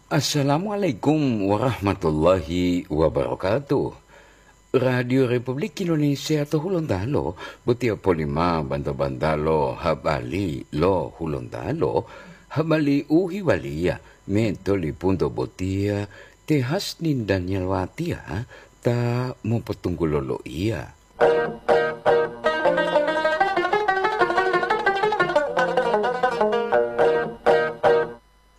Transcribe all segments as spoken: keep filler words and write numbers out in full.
Assalamualaikum warahmatullahi wabarakatuh. Radio Republik Indonesia to Hulontalo, botiya polima banta-bantalo habali lo Hulontalo, habali u hiwaliya me tolipunto botiya te Hasnin Daniel Watiya ta mopotunggulo loiya.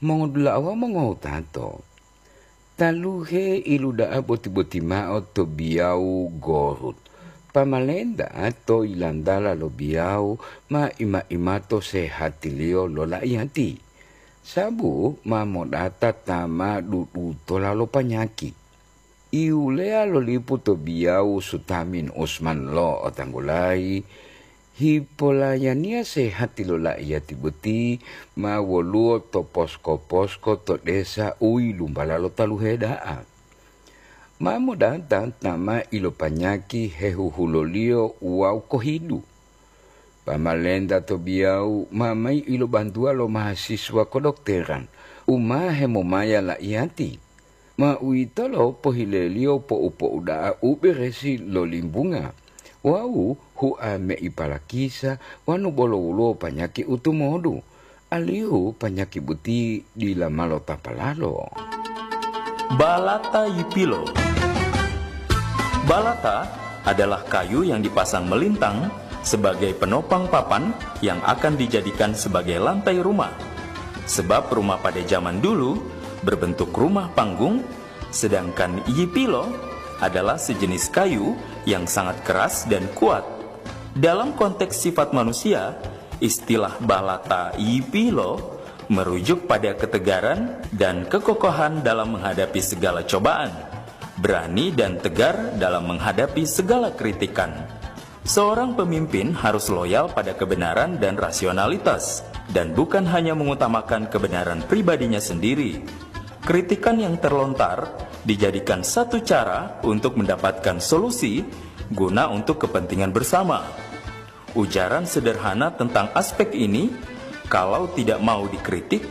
Mongodula'a wawu mongowutato, taluhe iluda'a boti-boti mao to biyawu Gorut. Pamalenta to yilantala lo biyawu ma ima-imato sehatiliyo lo la'iyati, sabu ma modata ta ma dudutola lo panyaki. Iwuleya lo lipu to biyawu Sutamin Usman lo otanggulayi, hipolayaniya sehati lo la'iyati boti ma woluwo to posko-posko to desa u yilumbala lo taluhe da'a. Ma modata ta ma ilopanyaki hehuhuloliyo wawu kohidu. Pamalenta to biyawu ma mayi ilobantuwa lo mahasiswa kodokteran u ma hemomaya la'iyati. Ma uwitolo pohileliyo pou-pou da'a u beresi lo limbunga wawu hua meipalakisa wanu bolo woluwo panyaki u tumodu, alihu panyaki boti dila ma lotapalalo. Balata yipilo. Balata adalah kayu yang dipasang melintang sebagai penopang papan yang akan dijadikan sebagai lantai rumah. Sebab rumah pada zaman dulu berbentuk rumah panggung, sedangkan yipilo adalah sejenis kayu yang sangat keras dan kuat. Dalam konteks sifat manusia, istilah balata yipilo merujuk pada ketegaran dan kekokohan dalam menghadapi segala cobaan, berani dan tegar dalam menghadapi segala kritikan. Seorang pemimpin harus loyal pada kebenaran dan rasionalitas, dan bukan hanya mengutamakan kebenaran pribadinya sendiri. Kritikan yang terlontar dijadikan satu cara untuk mendapatkan solusi guna untuk kepentingan bersama. Ujaran sederhana tentang aspek ini, kalau tidak mau dikritik,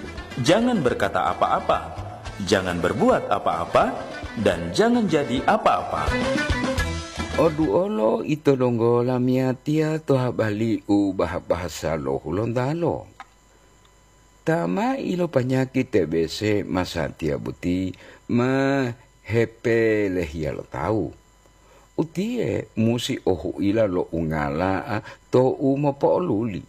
jangan berkata apa-apa, jangan berbuat apa-apa, dan jangan jadi apa-apa. Oduolo ito donggo lamiyatiya to habali u bahasa lo Hulontalo. Ta ma ilopanyaki T B C masatiya boti ma hepelehiya lo tawu. Utiye musi o huila lo ungala'a tou mopo'oluli.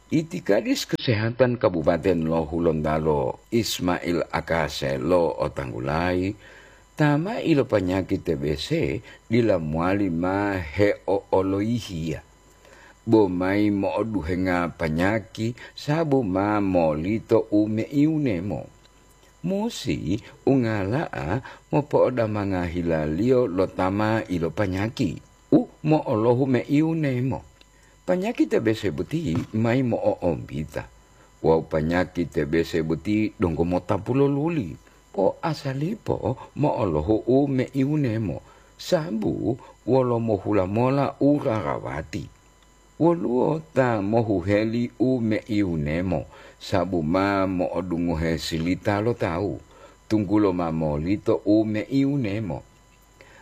Itikadis Kesehatan Kabupaten lo Hulontalo Ismail Akase lo otanggulayi, ta ma ilopanyaki T B C dila mowali ma heo'oloyihiya, bo mayi mo'oduhenga panyaki sabu ma molito u meiunemo. Musi ungala'a mopo'odamanga hilaliyo lo ta ma ilopanyaki u mo'olohu meiunemo. Panyaki T B C boti mayi mo'o'ombita wawu panyaki T B C boti donggo motapu lo luli. Po'asalipo mo'olohu u meiunemo, sabu wolo mohula mola u rarawati. Woluwo ta mohuheli u meiunemo, sabu ma mo'odungohe silita lo tawu, tunggulo ma molito u meiunemo.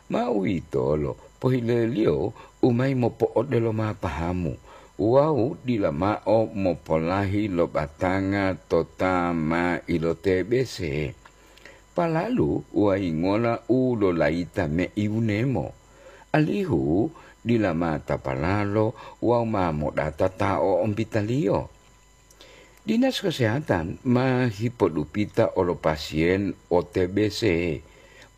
Ma uwitolo pohileliyo u mayi mopo'odelo ma pahamu wawu dila mao mopolahi lo batanga to ta ma ilote-B C. Palalu wayingola u lolayita meiunemo, alihu dila ma tapalalo wawu ma modata ta o'ompitaliyo. Dinas Kesehatan ma hipodupita olo pasien o T B C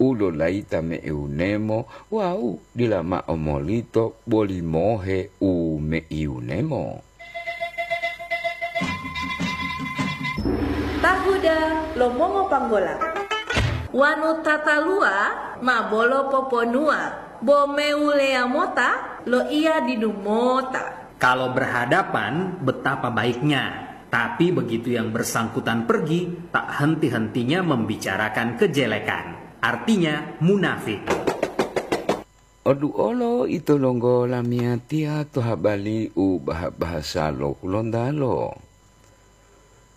u lolayita meiunemo wawu dila mao molito boli mohe u meiunemo. Tahuda lo mongopanggola. Wanu tataluwa ma bolo poponuwa, bo mewuleya mota loiya didu mota. Kalau berhadapan, betapa baiknya. Tapi begitu yang bersangkutan pergi, tak henti-hentinya membicarakan kejelekan. Artinya, munafik. Oduolo ito longgo lamiyatiya to habali u baha-bahasa lo Hulontalo.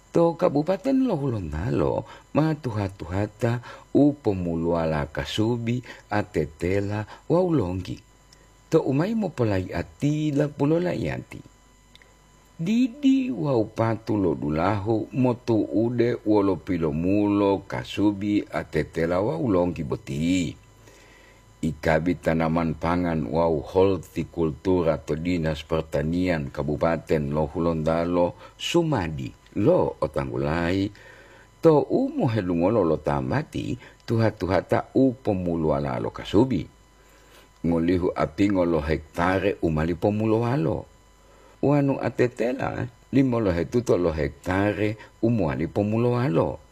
To Kabupaten lo Hulontalo ma tuha-tuhata u pomuluwala kasubi, atetela wawu longgi. To'u mayi mopolaiya tila pulo laiyati. Didi wawu patu lo dulahu motu'ude wolo pilomulo kasubi, atetela wawu longgi boti. Ikabi Tanaman Pangan wawu Holtikultura to Dinas Pertanian Kabupaten lo Hulontalo, Sumadi, lo otanggulayi, to'u mohelungolo lo tambati tuha-tuhata u pomuluwala lo kasubi. Ngolihu apingo lo hektare u mali pomulowalo. Wanu atetela limolohetuto lo hektare u mowali pomulowalo.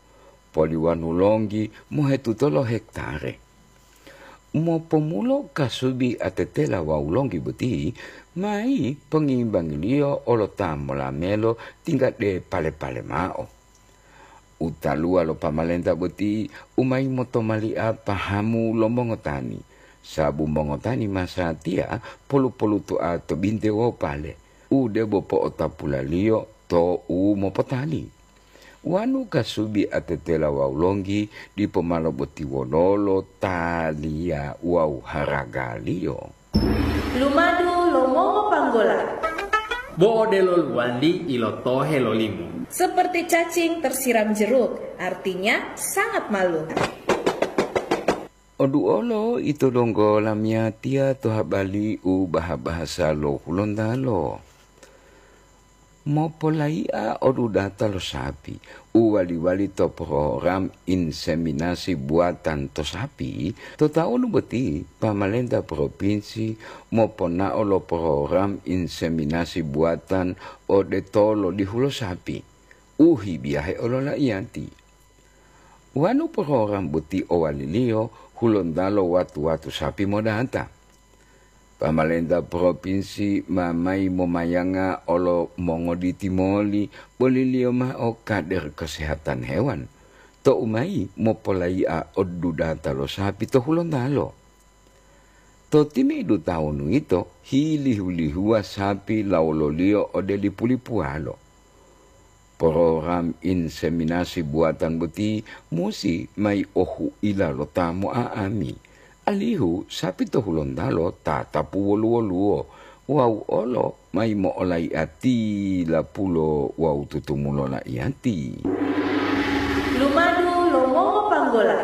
Poliwanu longgi mohetuto lo hektare. Mopomulo kasubi atetela wawu longgi boti, mayi pongimbangiliyo olo ta molamelo tingga de pale-pale mao. Utaluwa lo pamalenta boti u mayi motomali'a pahamu lo mongotani, sabu mongotani masatiya polu-poluto'a to binte wawu pale, u debo po'otapulaliyo to u mopotali. Wanu kasubi atetela wawu longgi dipo malo boti wololo taliya wawu haragaliyo. Lumadu lo mongopanggola. Bo odelo luwandi ilotohe lo limu. Seperti cacing tersiram jeruk, artinya sangat malu. Oduolo ito donggo lamiyatiya to habali u baha-bahasa lo Hulontalo. Mopolai'a odudata lo sapi u wali-wali to program inseminasi buatan to sapi, to taunu boti pamalenta propinsi moponao lo program inseminasi buatan ode tolodihu lo sapi u hibiyahe ololaiyati. Wonu program boti owaliliyo, Hulontalo watu-watu sapi modata. Pamalenta propinsi ma mayi momayanga olo mongoditi moli boliliyo mao kader kesehatan hewan, to'u mayi mopolai'a odudata lo sapi to Hulontalo. To timi'idu tawunu yito, hilihu-lihuwa sapi lawololiyo ode lipu-lipuwalo. Program inseminasi buatan boti musi mayi ohu'ila lo ta mo'a'ami, alihu sapi to Hulontalo tatapu wolu-woluwo wawu olo mayi mo'olaiya tilapulo wawu tutumulo laiyati. Lumadu lo mongopanggola.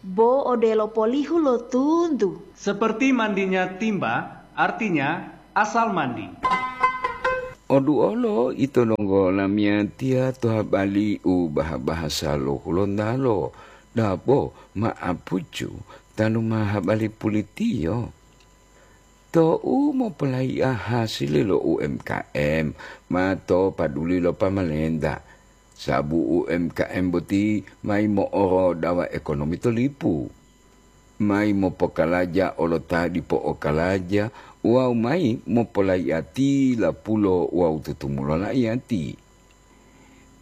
Bo odelo polihu lo tuntu. Seperti mandinya timba, artinya asal mandi. Oduolo ito donggo lamiyatiya to habali u baha-bahasa lo Hulontalo, dabo ma'apucu tanu ma habali pulitiyo. To'u mopolaiya hasili lo U M K M ma to paduli lo pamalenta, sabu U M K M boti mayi mo'orodawa ekonomi to lipu. Mayi mopokalaja olo ta dipo okalaja wawu mayi mopolaiya tilapulo wawu tutumulo laiyati.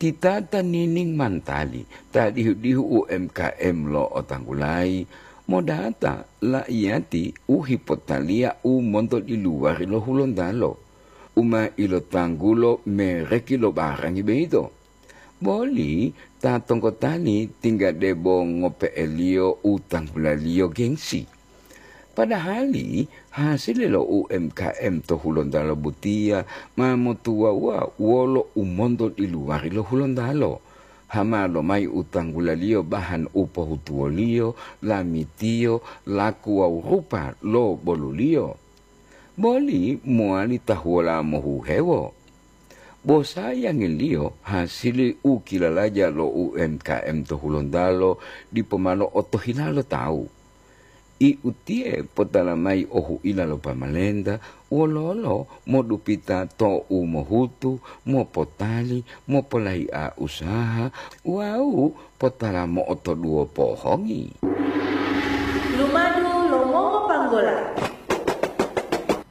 Titata nining mantali ta dihu-dihu U M K M lo otanggulayi, modata laiyati u hipotaliya u monto diluwari lo Hulontalo, u ma ilotanggulo mereki lo barangi boyito. Boli ta tonggotani tingga debo ngope'eliyo u tanggulaliyo gengsi. Padahali hasili lo U M K M to Hulontalo botiya ma motuwawuwa wolo u monto diluwari lo Hulontalo, hama lomayi u tanggulaliyo bahan u pohutuwoliyo, lamitiyo, laku wawu rupa lo boluliyo. Boli mowali tahuwola mohuhewo. Bo sayangiliyo hasili u kilalaja lo U M K M to Hulontalo dipo malo otohila lo tawu. I utiye potala mayi ohu'ila lo pamalenta wololo modupita to'u mohutu, mopotali, mopolai'a usaha wawu potala mo'otoduwo pohongi. Lumadu lo mongopanggola.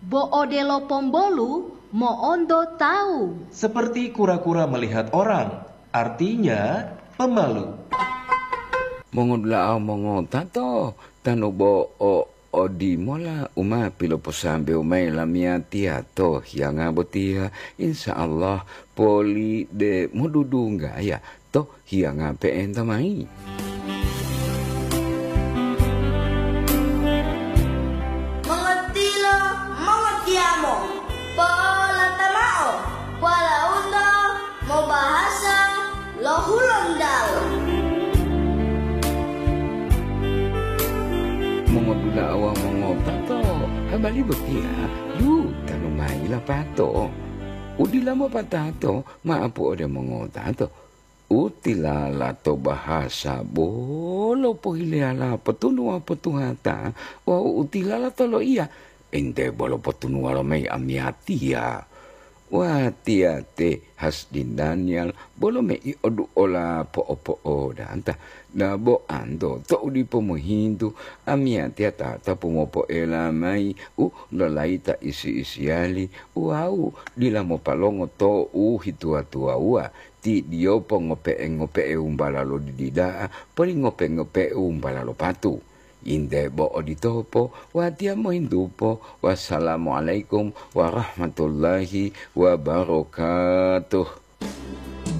Bo odelo pombolu mo'onto tawu. Seperti kura-kura melihat orang, artinya pemalu. Mongodula'a mongotato tanu bo o Odimola u ma piloposambewu mayi lamiyatiya to hiyanga botiya, insya Allah poli de modudunggaya to hiyanga pe'enta mayi. Mongotilo, mongotiyamo, polata mao, walaundo mobahasa lo Hulontalo. Mongodula'a wawu mongotato, habari botiya yu tanu mayi lapato. U dila mopatato, ma'apu ode mongotato. U tilala to bahasa bolo pohileyala potunuwa potuhata wawu u tilala to loiya, ente bolo potunuwa lomayi amiyatiya. Watiya te Hasdin Daniel bolo mei oduola po'opo'odanta. Dabo anto to'u dipo mohintu, amiyatiya tatapu mopoela mayi u lolayita isi-isiyali wawu dila mopalongo to'u hituwa-tuwawuwa. Ti diyopo ngope'e-ngope'e umbala lo didi da'a, poli ngope-ngope'e umbala lo patu. Inde bo oditopo, watiya mohintupo. Wassalamualaikum warahmatullahi wabarakatuh.